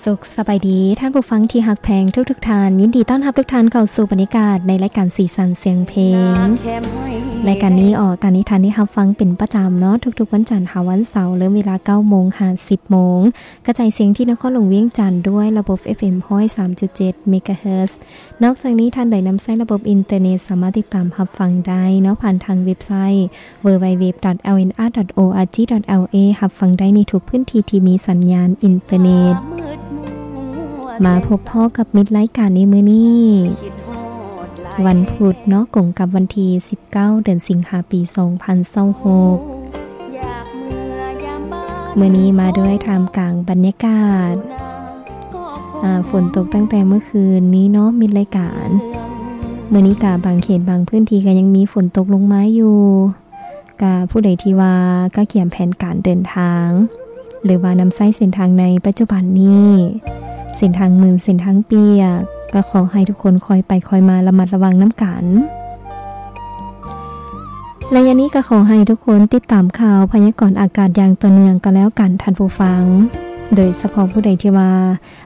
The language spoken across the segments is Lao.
ສຸກສະບາຍດີທ່ານຜູ້ຟັງທີ່ຮັກແພງທຸກໆທ່ານ, ຍິນດີຕ້ອນຮັບທຸກທ່ານເຂົ້າສູ່ບັນຍາກາດໃນລາຍການສີສັນສຽງເພງ. ລາຍການນີ້ອອກອາກາດໃຫ້ທ່ານໄດ້ຮັບຟັງເປັນປະຈຳເນາະ, ທຸກໆວັນຈັນຫາວັນເສົາ, ເລີ່ມເວລາເກົ້າໂມງຫາສິບໂມງ, ກະຈາຍສຽງທີ່ນະຄອນຫຼວງວຽງຈັນດ້ວຍລະບົບ ເອຟເອັມ ຮ້ອຍສາມຈຸດເຈັດ ເມກາເຮີດ. ນອກຈາກນີ້, ທ່ານໃດນຳໃຊ້ລະບົບອິນເຕີເນັດ ສາມາດຕິດຕາມຮັບຟັງໄດ້ເນາະ, ຜ່ານທາງເວັບໄຊ ดัບເບິນຢູ ດັບເບິນຢູ ດັບເບິນຢູ ດັບເບິນຢູ ດອດ ແອລເອັນອາ ດອດ ໂອ ອາ ຈີ ດອດ ແອລ ເອ ຮັບຟັງໄດ້ໃນທຸກພື້ນທີ່ທີ່ມີສັນຍານອິນເຕີເນັດ. ມາພົບພໍ້ກັບມິດລາຍການໃນມື້ນີ້ ວັນພຸດເນາະ, ກົງກັບວັນທີສິບເກົ້າ ເດືອນສິງຫາ ປີສອງພັນຊາວຫົກ. ມື້ນີ້ມາດ້ວຍທ່າມກາງບັນຍາກາດ ອ່າ ຝົນຕົກຕັ້ງແຕ່ເມື່ອຄືນນີ້ເນາະ ມິດລາຍການ. ມື້ນີ້ກະບາງເຂດບາງພື້ນທີ່ກະຍັງມີຝົນຕົກລົງມາຢູ່. ກະຜູ້ໃດທີ່ວ່າກະກຽມແຜນການເດີນທາງ ຫຼືວ່ານຳໃຊ້ເສັ້ນທາງໃນປັດຈຸບັນນີ້ ເສັ້ນທາງມື່ນ ເສັ້ນທາງປຽກ ກະຂໍໃຫ້ທຸກຄົນຄ່ອຍໄປຄ່ອຍມາ ລະມັດລະວັງນຳກັນ. ໄລຍະນີ້ກະຂໍໃຫ້ທຸກຄົນຕິດຕາມຂ່າວພະຍາກອນອາກາດຢ່າງຕໍ່ເນື່ອງກໍແລ້ວກັນທ່ານຜູ້ຟັງ, ໂດຍສະເພາະຜູ້ໃດທີ່ວ່າ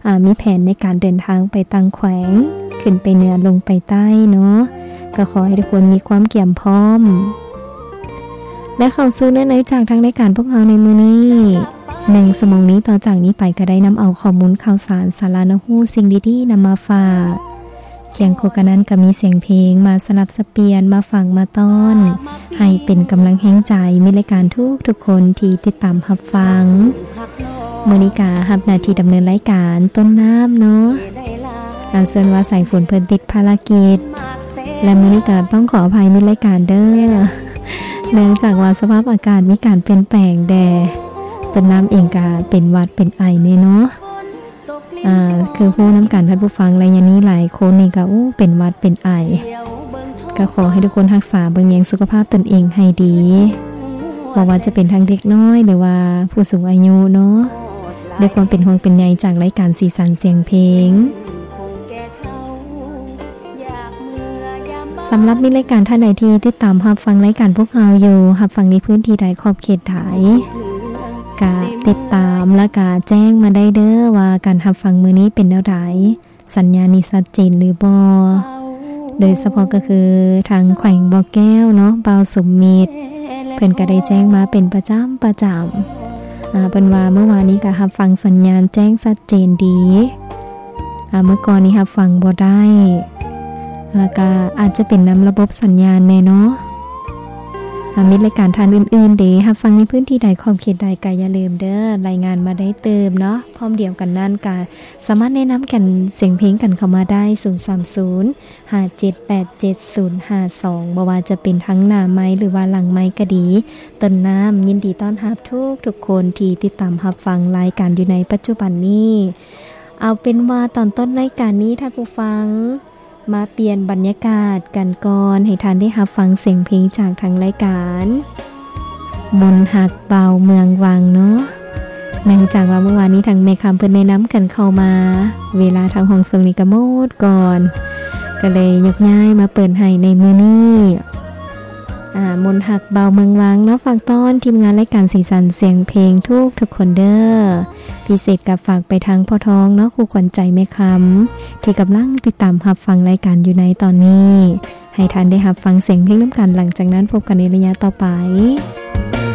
ອາ ມີແຜນໃນການເດີນທາງໄປຕ່າງແຂວງ, ຂຶ້ນໄປເໜືອ ລົງໄປໃຕ້ເນາະ, ກໍຂໍໃຫ້ທຸກຄົນມີຄວາມກຽມພ້ອມ ແລະ ເຂົ້າສູ່ເນື້ອໃນຈາກທາງລາຍການພວກເຮົາໃນມື້ນີ້. ໜຶ່ງຊົ່ວໂມງນີ້ຕໍ່ຈາກນີ້ໄປ ກໍໄດ້ນຳເອົາຂໍ້ມູນຂ່າວສານ, ສາລະໜ້າຮູ້, ສິ່ງດີໆນຳມາຝາກ. ຄຽງຄູ່ກັນນັ້ນກໍມີສຽງເພງມາສະຫຼັບສະປ່ຽນ, ມາຝາກມາຕ້ອນ ໃຫ້ເປັນກຳລັງແຮງໃຈມິດລາຍການທຸກໆຄົນທີ່ຕິດຕາມຮັບຟັງ. ມື້ນີ້ກະຮັບໜ້າທີ່ດຳເນີນລາຍການຕົ້ນນ້ຳເນາະ, ອາ ສ່ວນວ່າສາຍຝົນເພິ່ນຕິດພາລະກິດ ແລະ ມື້ນີ້ກະຕ້ອງຂໍອະໄພມິດລາຍການເດີ, ເນື່ອງຈາກວ່າສະພາບອາກາດມີການປ່ຽນແປງແດ່. ຕົ້ນນ້ຳເອງກະເປັນຫວັດເປັນໄອແດ່ເນາະ. ອ່າ ຄືຮູ້ນຳກັນທ່ານຜູ້ຟັງ, ໄລຍະນີ້ຫຼາຍຄົນນີ້ກໍ ໂອ້ ເປັນຫວັດເປັນໄອ, ກໍຂໍໃຫ້ທຸກຄົນຮັກສາເບິ່ງແຍງສຸຂະພາບຕົນເອງໃຫ້ດີ, ບໍ່ວ່າຈະເປັນທັງເດັກນ້ອຍ ຫຼືວ່າຜູ້ສູງອາຍຸເນາະ, ດ້ວຍຄວາມເປັນຫ່ວງເປັນໃຍຈາກລາຍການສີສັນສຽງເພງ. ສຳລັບມີລາຍການທ່ານໃດທີ່ຕິດຕາມຮັບຟັງລາຍການພວກເຮົາຢູ່, ຮັບຟັງໃນພື້ນທີ່ໃດ ຂອບເຂດໃດ ກະຕິດຕາມ ແລະ ກະແຈ້ງມາໄດ້ເດີວ່າການຮັບຟັງມື້ນີ້ເປັນແນວໃດ, ສັນຍານນີ້ຊັດເຈນຫຼືບໍ່. ໂດຍສະເພາະກໍຄືທາງແຂວງບໍ່ແກ້ວເນາະ, ບ່າວສົມມິດ ເພິ່ນກະໄດ້ແຈ້ງມາເປັນປະຈຳ ປະຈຳ. ອາ ເພິ່ນວ່າມື້ວານນີ້ກະຮັບຟັງສັນຍານແຈ້ງຊັດເຈນດີ. ອາ ມື້ກ່ອນນີ້ຮັບຟັງບໍ່ໄດ້, ອາ ກະອາດຈະເປັນນຳລະບົບສັນຍານແດ່ເນາະ. ອາ ມິດລາຍການທ່ານອື່ນໆເດ ຮັບຟັງໃນພື້ນທີ່ໃດ ຂອບເຂດໃດ ກະຢ່າລືມເດີ ລາຍງານມາໄດ້ຕື່ມເນາະ. ພ້ອມດຽວກັນນັ້ນກະສາມາດແນະນຳກັນສຽງເພງກັນເຂົ້າມາໄດ້ ສູນສາມສູນ ຫ້າເຈັດແປດເຈັດສູນຫ້າສອງ ບໍ່ວ່າຈະເປັນທັງໜ້າໄມ ຫຼືວ່າຫຼັງໄມກໍດີ. ຕົ້ນນ້ຳຍິນດີຕ້ອນຮັບທຸກໆຄົນທີ່ຕິດຕາມຮັບຟັງລາຍການຢູ່ໃນປັດຈຸບັນນີ້. ເອົາເປັນວ່າຕອນຕົ້ນລາຍການນີ້ ທ່ານຜູ້ຟັງ ມາປ່ຽນບັນຍາກາດກັນກ່ອນ ໃຫ້ທ່ານໄດ້ຮັບຟັງສຽງເພງຈາກທາງລາຍການ ມົນຮັກບ່າວເມືອງວັງເນາະ. ເນື່ອງຈາກວ່າມື້ວານນີ້ທາງແມ່ຄຳເພິ່ນແນະນຳກັນເຂົ້າມາ, ເວລາທາງຫ້ອງສົ່ງນີ້ກໍໝົດກ່ອນ, ກໍເລີຍຍົກຍ້າຍມາເປີດໃຫ້ໃນມື້ນີ້. ອ່າ ມົນຮັກບ່າວເມືອງວັງເນາະ, ຝາກຕ້ອນທີມງານລາຍການສີສັນສຽງເພງທຸກໆຄົນເດີ. ພິເສດກໍຝາກໄປທາງພໍ່ທອງເນາະ, ຄູ່ຂວັນໃຈແມ່ຄຳ ທີ່ກຳລັງຕິດຕາມຮັບຟັງລາຍການຢູ່ໃນຕອນນີ້. ໃຫ້ທ່ານໄດ້ຮັບຟັງສຽງເພງນຳກັນ, ຫຼັງຈາກນັ້ນພົບກັນໃນໄລຍະຕໍ່ໄປ.